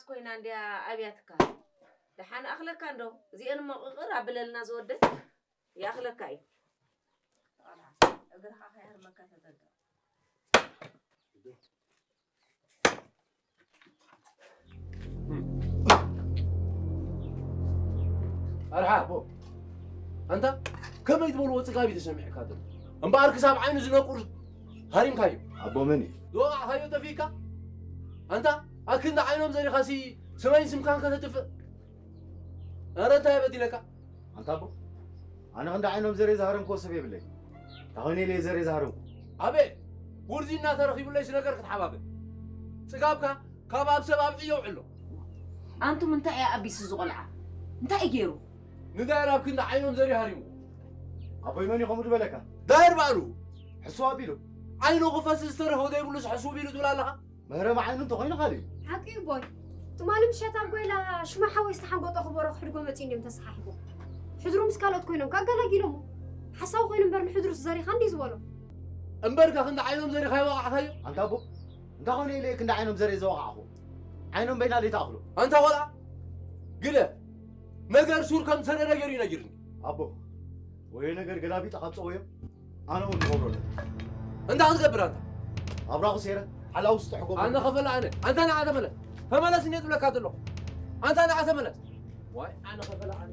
ኮይና እንድያ ኣብያትካ። ደሓን ኣኽለካ እንዶ፣ እዚአን እሞ ቅቕር ኣብለልና ዝወደት ይኣኽለካ እዩ። እግርኻ ከይሃርመካ ተጠንቀቕ። ኣርሓ ኣቦ፣ ኣንታ ከመይ ዝበልዎ ጽጋብ እዩ ተሰሚዕካ ዘሎ? እምበኣር ክሳብ ዓይኑ ዝነቁር ሃሪምካዮ። ኣቦ መን እዩ? ዝወቓዕካዮ ጠፊእካ? ኣንታ ኣክንዲ ዓይኖም ዘሪኻሲ ስመይን ስምካን ከተጥፍእ? ኣረ እንታይ በዲለካ? ኣንታ ኣቦ፣ ኣነ ክንዲ ዓይኖም ዘርየ ዝሃረምክዎ ሰብ የብለይ። እንታይ ኮይነ ኢለ እየ ዘርየ ዝሃረምኩ? ኣቤት፣ ጉርዚና ተረኺቡለይስ ነገር ክትሓባብር? ጽጋብካ ካብ ኣብ ሰብ ኣብዒ የውዕሎ። ኣንቱም እንታይ እያ ኣቢሱ ዝቖልዓ? እንታይ እዩ ገይሩ? ንዳይር ኣብ ክንዲ ዓይኖም ዘርየ ሃሪምዎ። ኣቦይ መን እዩ ከምኡ ዝበለካ? ዳይር ባዕሉ። ሕስው ኣቢሉ። ዓይኑ ክፈስስ ዝተረፎ ዘይብሉስ ሕስው ቢሉ ትብል ኣለኻ? መህረሚ ዓይኑ እንተኾይኑ ካልእ እዩ። ሓቂ እዩ ቦይ። ትማሊ ምሸት ኣብ ጎይላ ሽማ ሓወይ ዝተሓንጎጦ ክበሮ ክሕድጎ መፂኡ እንድዮም ተሰሓሒቦም። ሕድሩ ምስ ካልኦት ኮይኖም ከኣ ኣገላጊሎሞ። ሓሳዊ ኮይኑ እምበር ንሕድሩስ ዘሪኻ እንድዩ ዝበሎ። እምበርካ ክንዲ ዓይኖም ዘሪኻ ይወቓዕካዮ? ኣንታ ኣቦ፣ እንታይ ኮነ ኢለ ክንዲ ዓይኖም ዘርየ ዘወቓዕኹ? ዓይኖም በይና ዘይትኣኽሎ። ኣንታ ቆልዓ፣ ግደፍ። ነገር ሱር ከም ዝሰደደ ገይሩ እዩ ነጊሩኒ። ኣቦ፣ ወዮ ነገር ገላቢጠ ካብ ጸወዮ ኣነ እውን ክገብሮ ኣለኒ። እንታይ ክትገብር ኣንታ? ኣብራኹ ሴረ ሓላው ዝጥሕጎ ኣነ ከፈላ ኣነ። ኣንታ ንዓ ተመለስ። ተመለስ እንደ ትብለካ ዘለኹ። ኣንታ ንዓ ተመለስ። ዋይ ኣነ ከፈላ ኣነ።